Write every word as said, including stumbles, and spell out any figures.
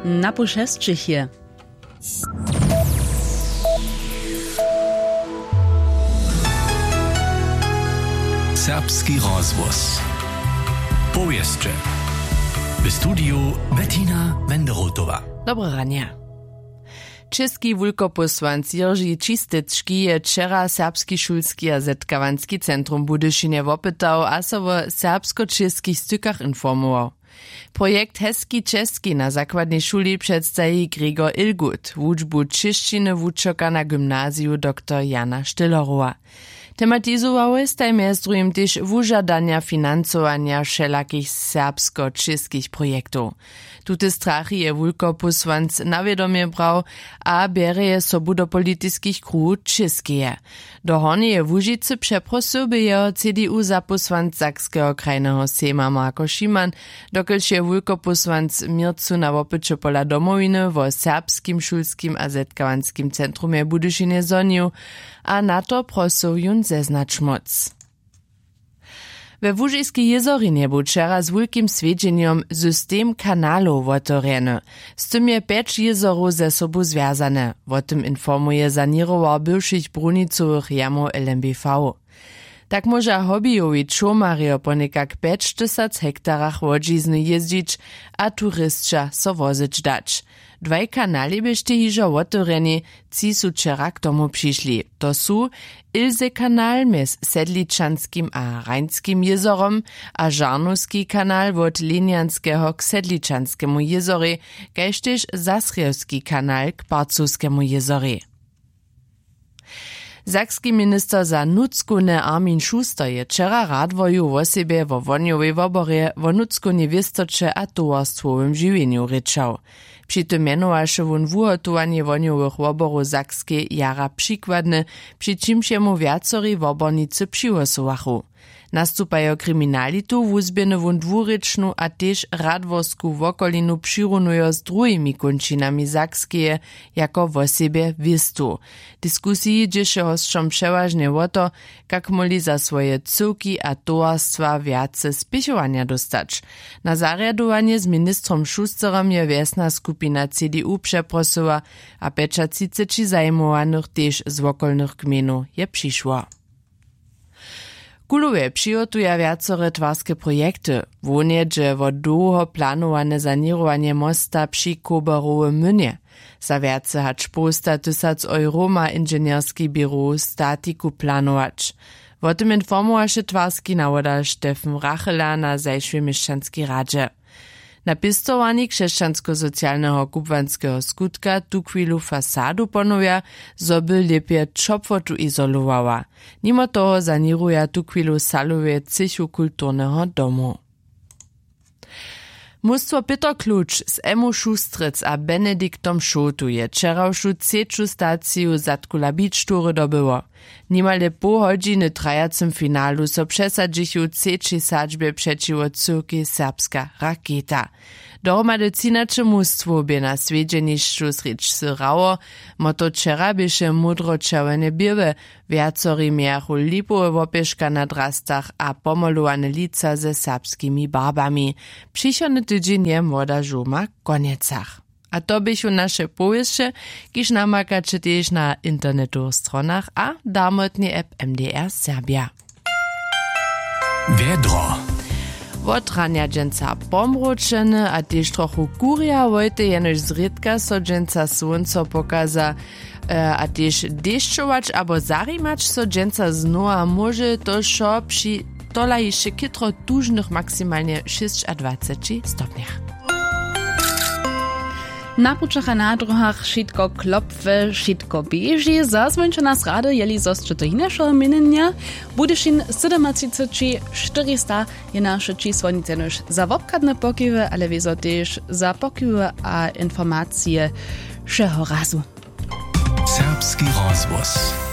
Na poł šesćich je. Serbski rozhłos. Powěsće. W studiju Bettina Wenderotowa. Dobre ranje. Česki wulkopósłanc Jirži Čistecki je wčera Serbski šulski a zetkawanski centrum w Budyšinje wopytał a so wo serbsko-čěskich stykach informował. Projekt Heski Česki na zakładnej šuli předstaji Gregor Ilgut, wučbu čěšćiny wučerka na gymnaziju doktor Jana Štyllerowa. Tematizowałoj staj mjez druhim tež wužadanja financowanja wšelakich serbsko-čěskich projektow. Tute strachi je wulkopósłanc na wědomje brał a bjerje je sobu do politiskich kruhow Čěskeje. Do Hornjeje Łužicy přeprosył bě jeho C D U zapósłanc Sakskeho krajneho sejma Marko Šiman, dokelž je wulkopósłanc w měrcu na wopyće pola Domowiny wo serbskim šulskim a zetkawanskim centrumje w Budyšinje zhonił a na to prosył jón zeznać móc. We Łužiskej jězorinje bu wčera z wulkim swjedźenjom system kanalow wotewrjeny. Z tym je pjeć jězorow ze sobu zwjazane. Wo tym informuje saněrowar bywšich brunicowych jamow L M B V. Tak móža hobbyjowi čołmarjo po někak pjećtysac hektarach łodźizny jězdźić a turisća so wozyć dać. Dwaj kanali běštej hižo wotewrjeni, tři su wčera k tomu přišli. To su Ilsekanal mjez Sedličanskim a Rajnskim jězorom a Žarnowski kanal wot Linjanskeho k Sedličanskemu jězorej, kaž tež Zasrjewski kanal k Parcowskemu jězorej. Sakski minister za nutřkowne Armin Schuster je wčera w Radworju wosebje wo wohnjowej woborje, wo nutřkownej wěstoće a towarstwowym žiwjenju rěčał. Při tym mjenowaše wón wuhotowanje wohnjowych woborow w Sakskej jara přikładne, při čimž jemu wjacori wobornicy přihłosowachu. Nastupajo kriminalitu wuzběhny wón dwurěčnu a tež radworsku wokolinu přirunujo z druhimi kónčinami Sakskeje jako wosebje wěstu. W diskusiji dźěše hosćom přewažnje wo to, kak móhli za swoje cyłki a towarstwa wjace spěchowanja dóstać. Na zarjadowanje z ministrom Schusterem je wjesna skupina C D U přeprosyła a pjećatřiceći zajimowanych tež z wokolnych gmejnow je přišło. Kulowe přihotuja wjacore twarske projekty. Hłownje dźe wo dołho planowane saněrowanje mosta při Koberowym młynje. Za wjace hač połsta tysac euro ma inženjerski běrow statiku planować. Wo tym informowaše twarski nawoda Steffen Rachela na zašłej měšćanskej radźe. Na pěstowarni křesćanskosocialneho kubłanskeho skutka tuchwilu fasadu ponowja, zo by lěpje ćopłotu izolowała. Nimo toho saněruja tuchwilu salowe třěchu kulturneho domu. Mustwo Pětr Kluč z Emmu Šustrec a Benediktom Šołtu je wčerawšu třeću staciju Zadkula Beach Toury dobyło. Nimale poł hodźiny w trajacym finalu so přesadźichu w třećej sadźbje přećiwo cyłkej Serbska Raketa. Dohromady třinaće mustwow bě na swjedźenišću srjedź syrało. Motto wčera běše módročerwjene běłe. Wjacori mějachu lipowe wopěška na drastach a pomolowane lica ze serbskimi barbami. Přichodny tydźeń je młoda žołma w Konjecach. A to běchu naše powěsće, kiž namakaće tež na internetowych stronach a w darmotnej app M D R Serbja. Wjedro. Wot ranja dźensa pomročene a tež trochu kurja, wojtej jenož zrědka so dźensa słónco pokaza, e, a tež dešćować abo zarimać so dźensa znowa móže, to wšo při tola hišće chětro tužnych maksimalnje šěsćadwaceći stopnjach. Na pućach a na dróhach wšitko klopfe, wšitko běži. Zazwóńće nas rady, jeli zo sće to hinašeho měnjenja. Budyšin sydomatřiceći štyrista je naše čisło, nic jenož za wobchadne pokiwy, ale wězo tež za pokiwy a informacije wšeho razu. Serbski rozhłos.